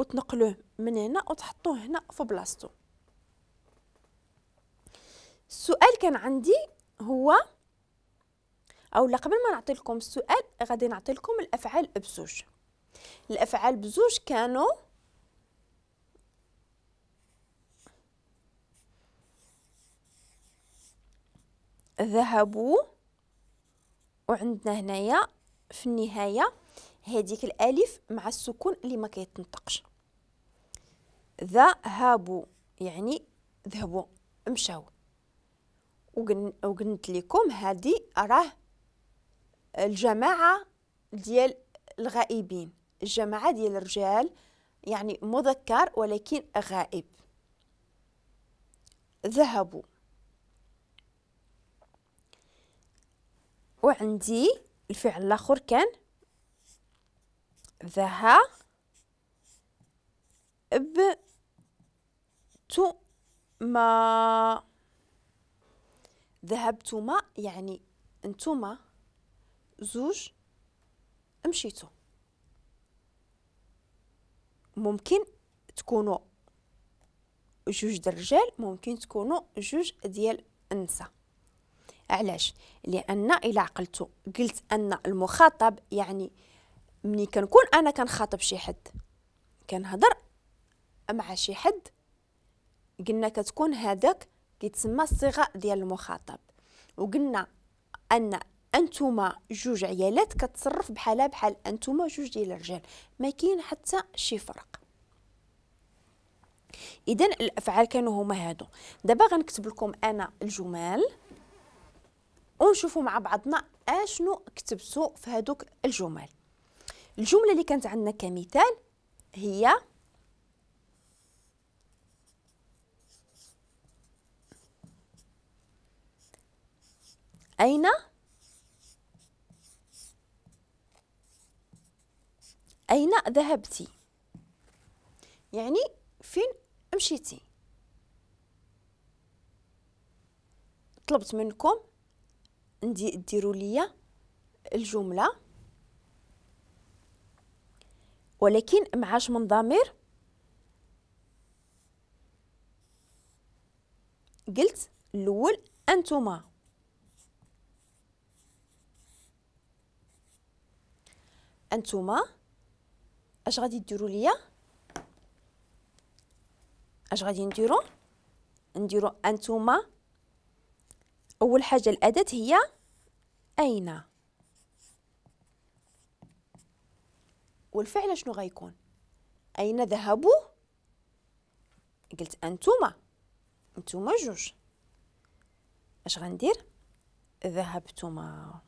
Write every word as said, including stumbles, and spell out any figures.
وتنقلوه من هنا وتحطوه هنا في بلاصتو. السؤال كان عندي هو، او لا قبل ما نعطي لكم السؤال غادي نعطي لكم الافعال بزوج. الافعال بزوج كانوا ذهبوا، وعندنا هنايا في النهاية هذيك الالف مع السكون اللي ما كيتنطقش. ذهبوا يعني ذهبوا مشاو. وقلت لكم هذه راه الجماعة ديال الغائبين، الجماعة ديال الرجال، يعني مذكر ولكن غائب. ذهبوا. وعندي الفعل الاخر كان ذهبتما. ذهبتما يعني انتما زوج مشيتو. ممكن تكونوا جوج ديال الرجال، ممكن تكونوا جوج ديال النساء. علاش؟ لان الى عقلتو قلت ان المخاطب، يعني ملي كنكون انا كنخاطب شي حد، كنهضر مع شي حد، قلنا كتكون هذاك كيتسمى الصيغة ديال المخاطب. وقلنا ان انتما جوج عيالات كتصرف بحالها بحال انتما جوج ديال الرجال، ما كاين حتى شي فرق. اذا الافعال كانوا هما هادو. دابا غنكتب لكم انا الجمل ونشوفوا مع بعضنا اشنو كتبتو في هادوك الجمل. الجملة اللي كانت عندنا كمثال هي أين أين ذهبتي، يعني فين مشيتي. طلبت منكم ديروا لي الجملة ولكن معاش من ضمير. قلت الاول انتما، انتما اش غادي ديروا ليا؟ اش غادي نديروا؟ نديروا انتما. اول حاجة الاداة هي اين، والفعل شنو غيكون؟ اين ذهبوا؟ قلت انتما، انتما جوج. اش غندير؟ ذهبتما.